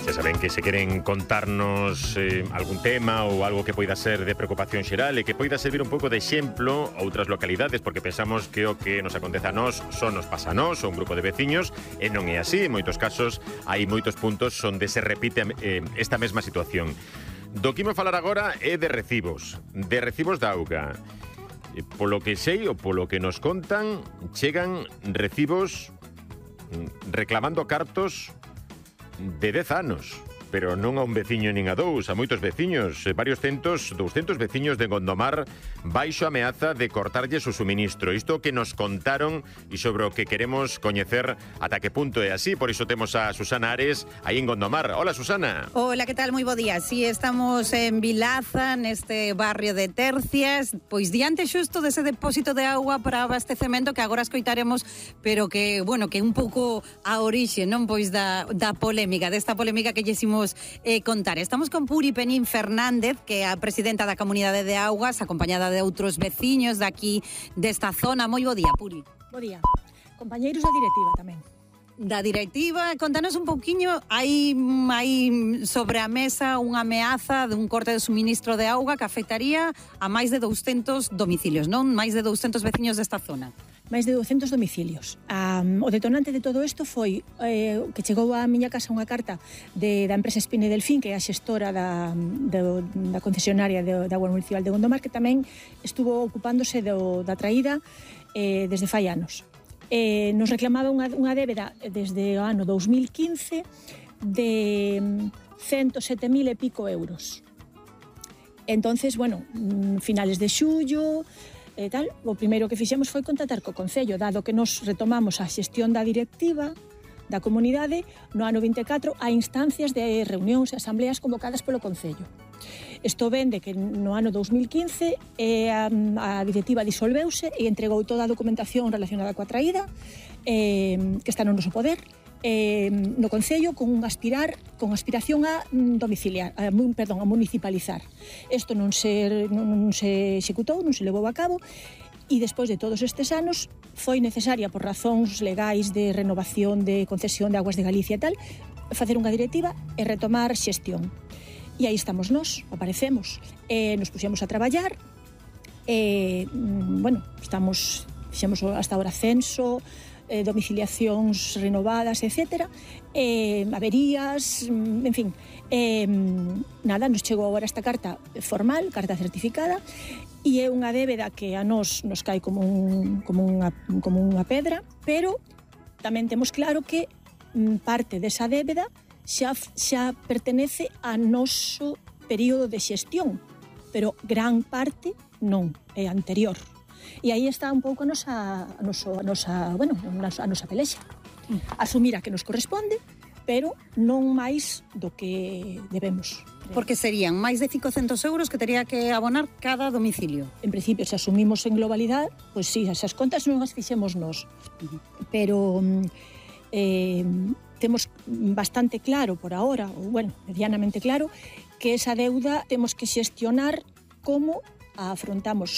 Xa saben que se queren contarnos algún tema ou algo que poida ser de preocupación xeral e que poida servir un pouco de exemplo a outras localidades, porque pensamos que o que nos acontece a nós só nos pasa a nós, ou un grupo de veciños, e non é así. En moitos casos hai moitos puntos onde se repite esta mesma situación. Do que imos falar agora é de recibos de auga. Polo que sei ou polo que nos contan, chegan recibos reclamando cartos de 10 anos, pero non a un veciño nin a dous, a moitos veciños, varios 200 veciños de Gondomar baixo ameaza de cortarlles o suministro. Isto que nos contaron e sobre o que queremos coñecer ata que punto é así. Por iso temos a Susana Ares aí en Gondomar. Hola, Susana. Hola, que tal? Moi bo día. Sí, estamos en Vilaza, neste barrio de Tercias, pois diante xusto dese depósito de agua para abastecemento que agora escoitaremos, pero que, bueno, que un pouco a orixe, non, pois da polémica, desta polémica que lle imos contar. Estamos con Puri Penín Fernández, que é a presidenta da Comunidade de Augas, acompañada de outros veciños daqui desta zona. Moi bo día, Puri. Bo día. Compañeiros da directiva tamén. Da directiva, contanos un pouquiño, hai sobre a mesa unha ameaza de un corte de suministro de auga que afectaría a máis de 200 domicilios, non? Máis de 200 veciños desta zona. Máis de 200 domicilios. O detonante de todo isto foi que chegou á miña casa unha carta da empresa Espine Delfín, que é a xestora da concesionaria da Agua Municipal de Gondomar, que tamén estuvo ocupándose da traída desde fai anos. Nos reclamaba unha débeda desde o ano 2015 de 107.000 e pico euros. Entonces, bueno, finales de xullo, o primeiro que fixemos foi contactar co Concello, dado que nos retomamos a xestión da directiva da comunidade no ano 24 a instancias de reunións e asambleas convocadas polo Concello. Isto ven de que no ano 2015 a directiva disolveuse e entregou toda a documentación relacionada coa traída que está no noso poder no Concello con aspiración a municipalizar. Isto non se executou, non se levou a cabo, e despois de todos estes anos foi necesaria, por razóns legais de renovación de concesión de Aguas de Galicia e tal, facer unha directiva e retomar xestión. E aí estamos nós, aparecemos, nos puxemos a traballar, fixemos hasta ahora censo, domiciliacións renovadas, etc. Averías, en fin. Nos chegou agora esta carta formal, carta certificada, e é unha débeda que a nos cae como unha pedra, pero tamén temos claro que parte desa débeda xa pertenece a noso período de xestión, pero gran parte non, é anterior. E aí está un pouco a nosa pelexa. Asumir a que nos corresponde, pero non máis do que debemos. Porque serían máis de 500 euros que tería que abonar cada domicilio. En principio, se asumimos en globalidade, pois sí, esas contas non as fixemos nós. Pero temos bastante claro por ahora, ou medianamente claro, que esa deuda temos que xestionar como a afrontamos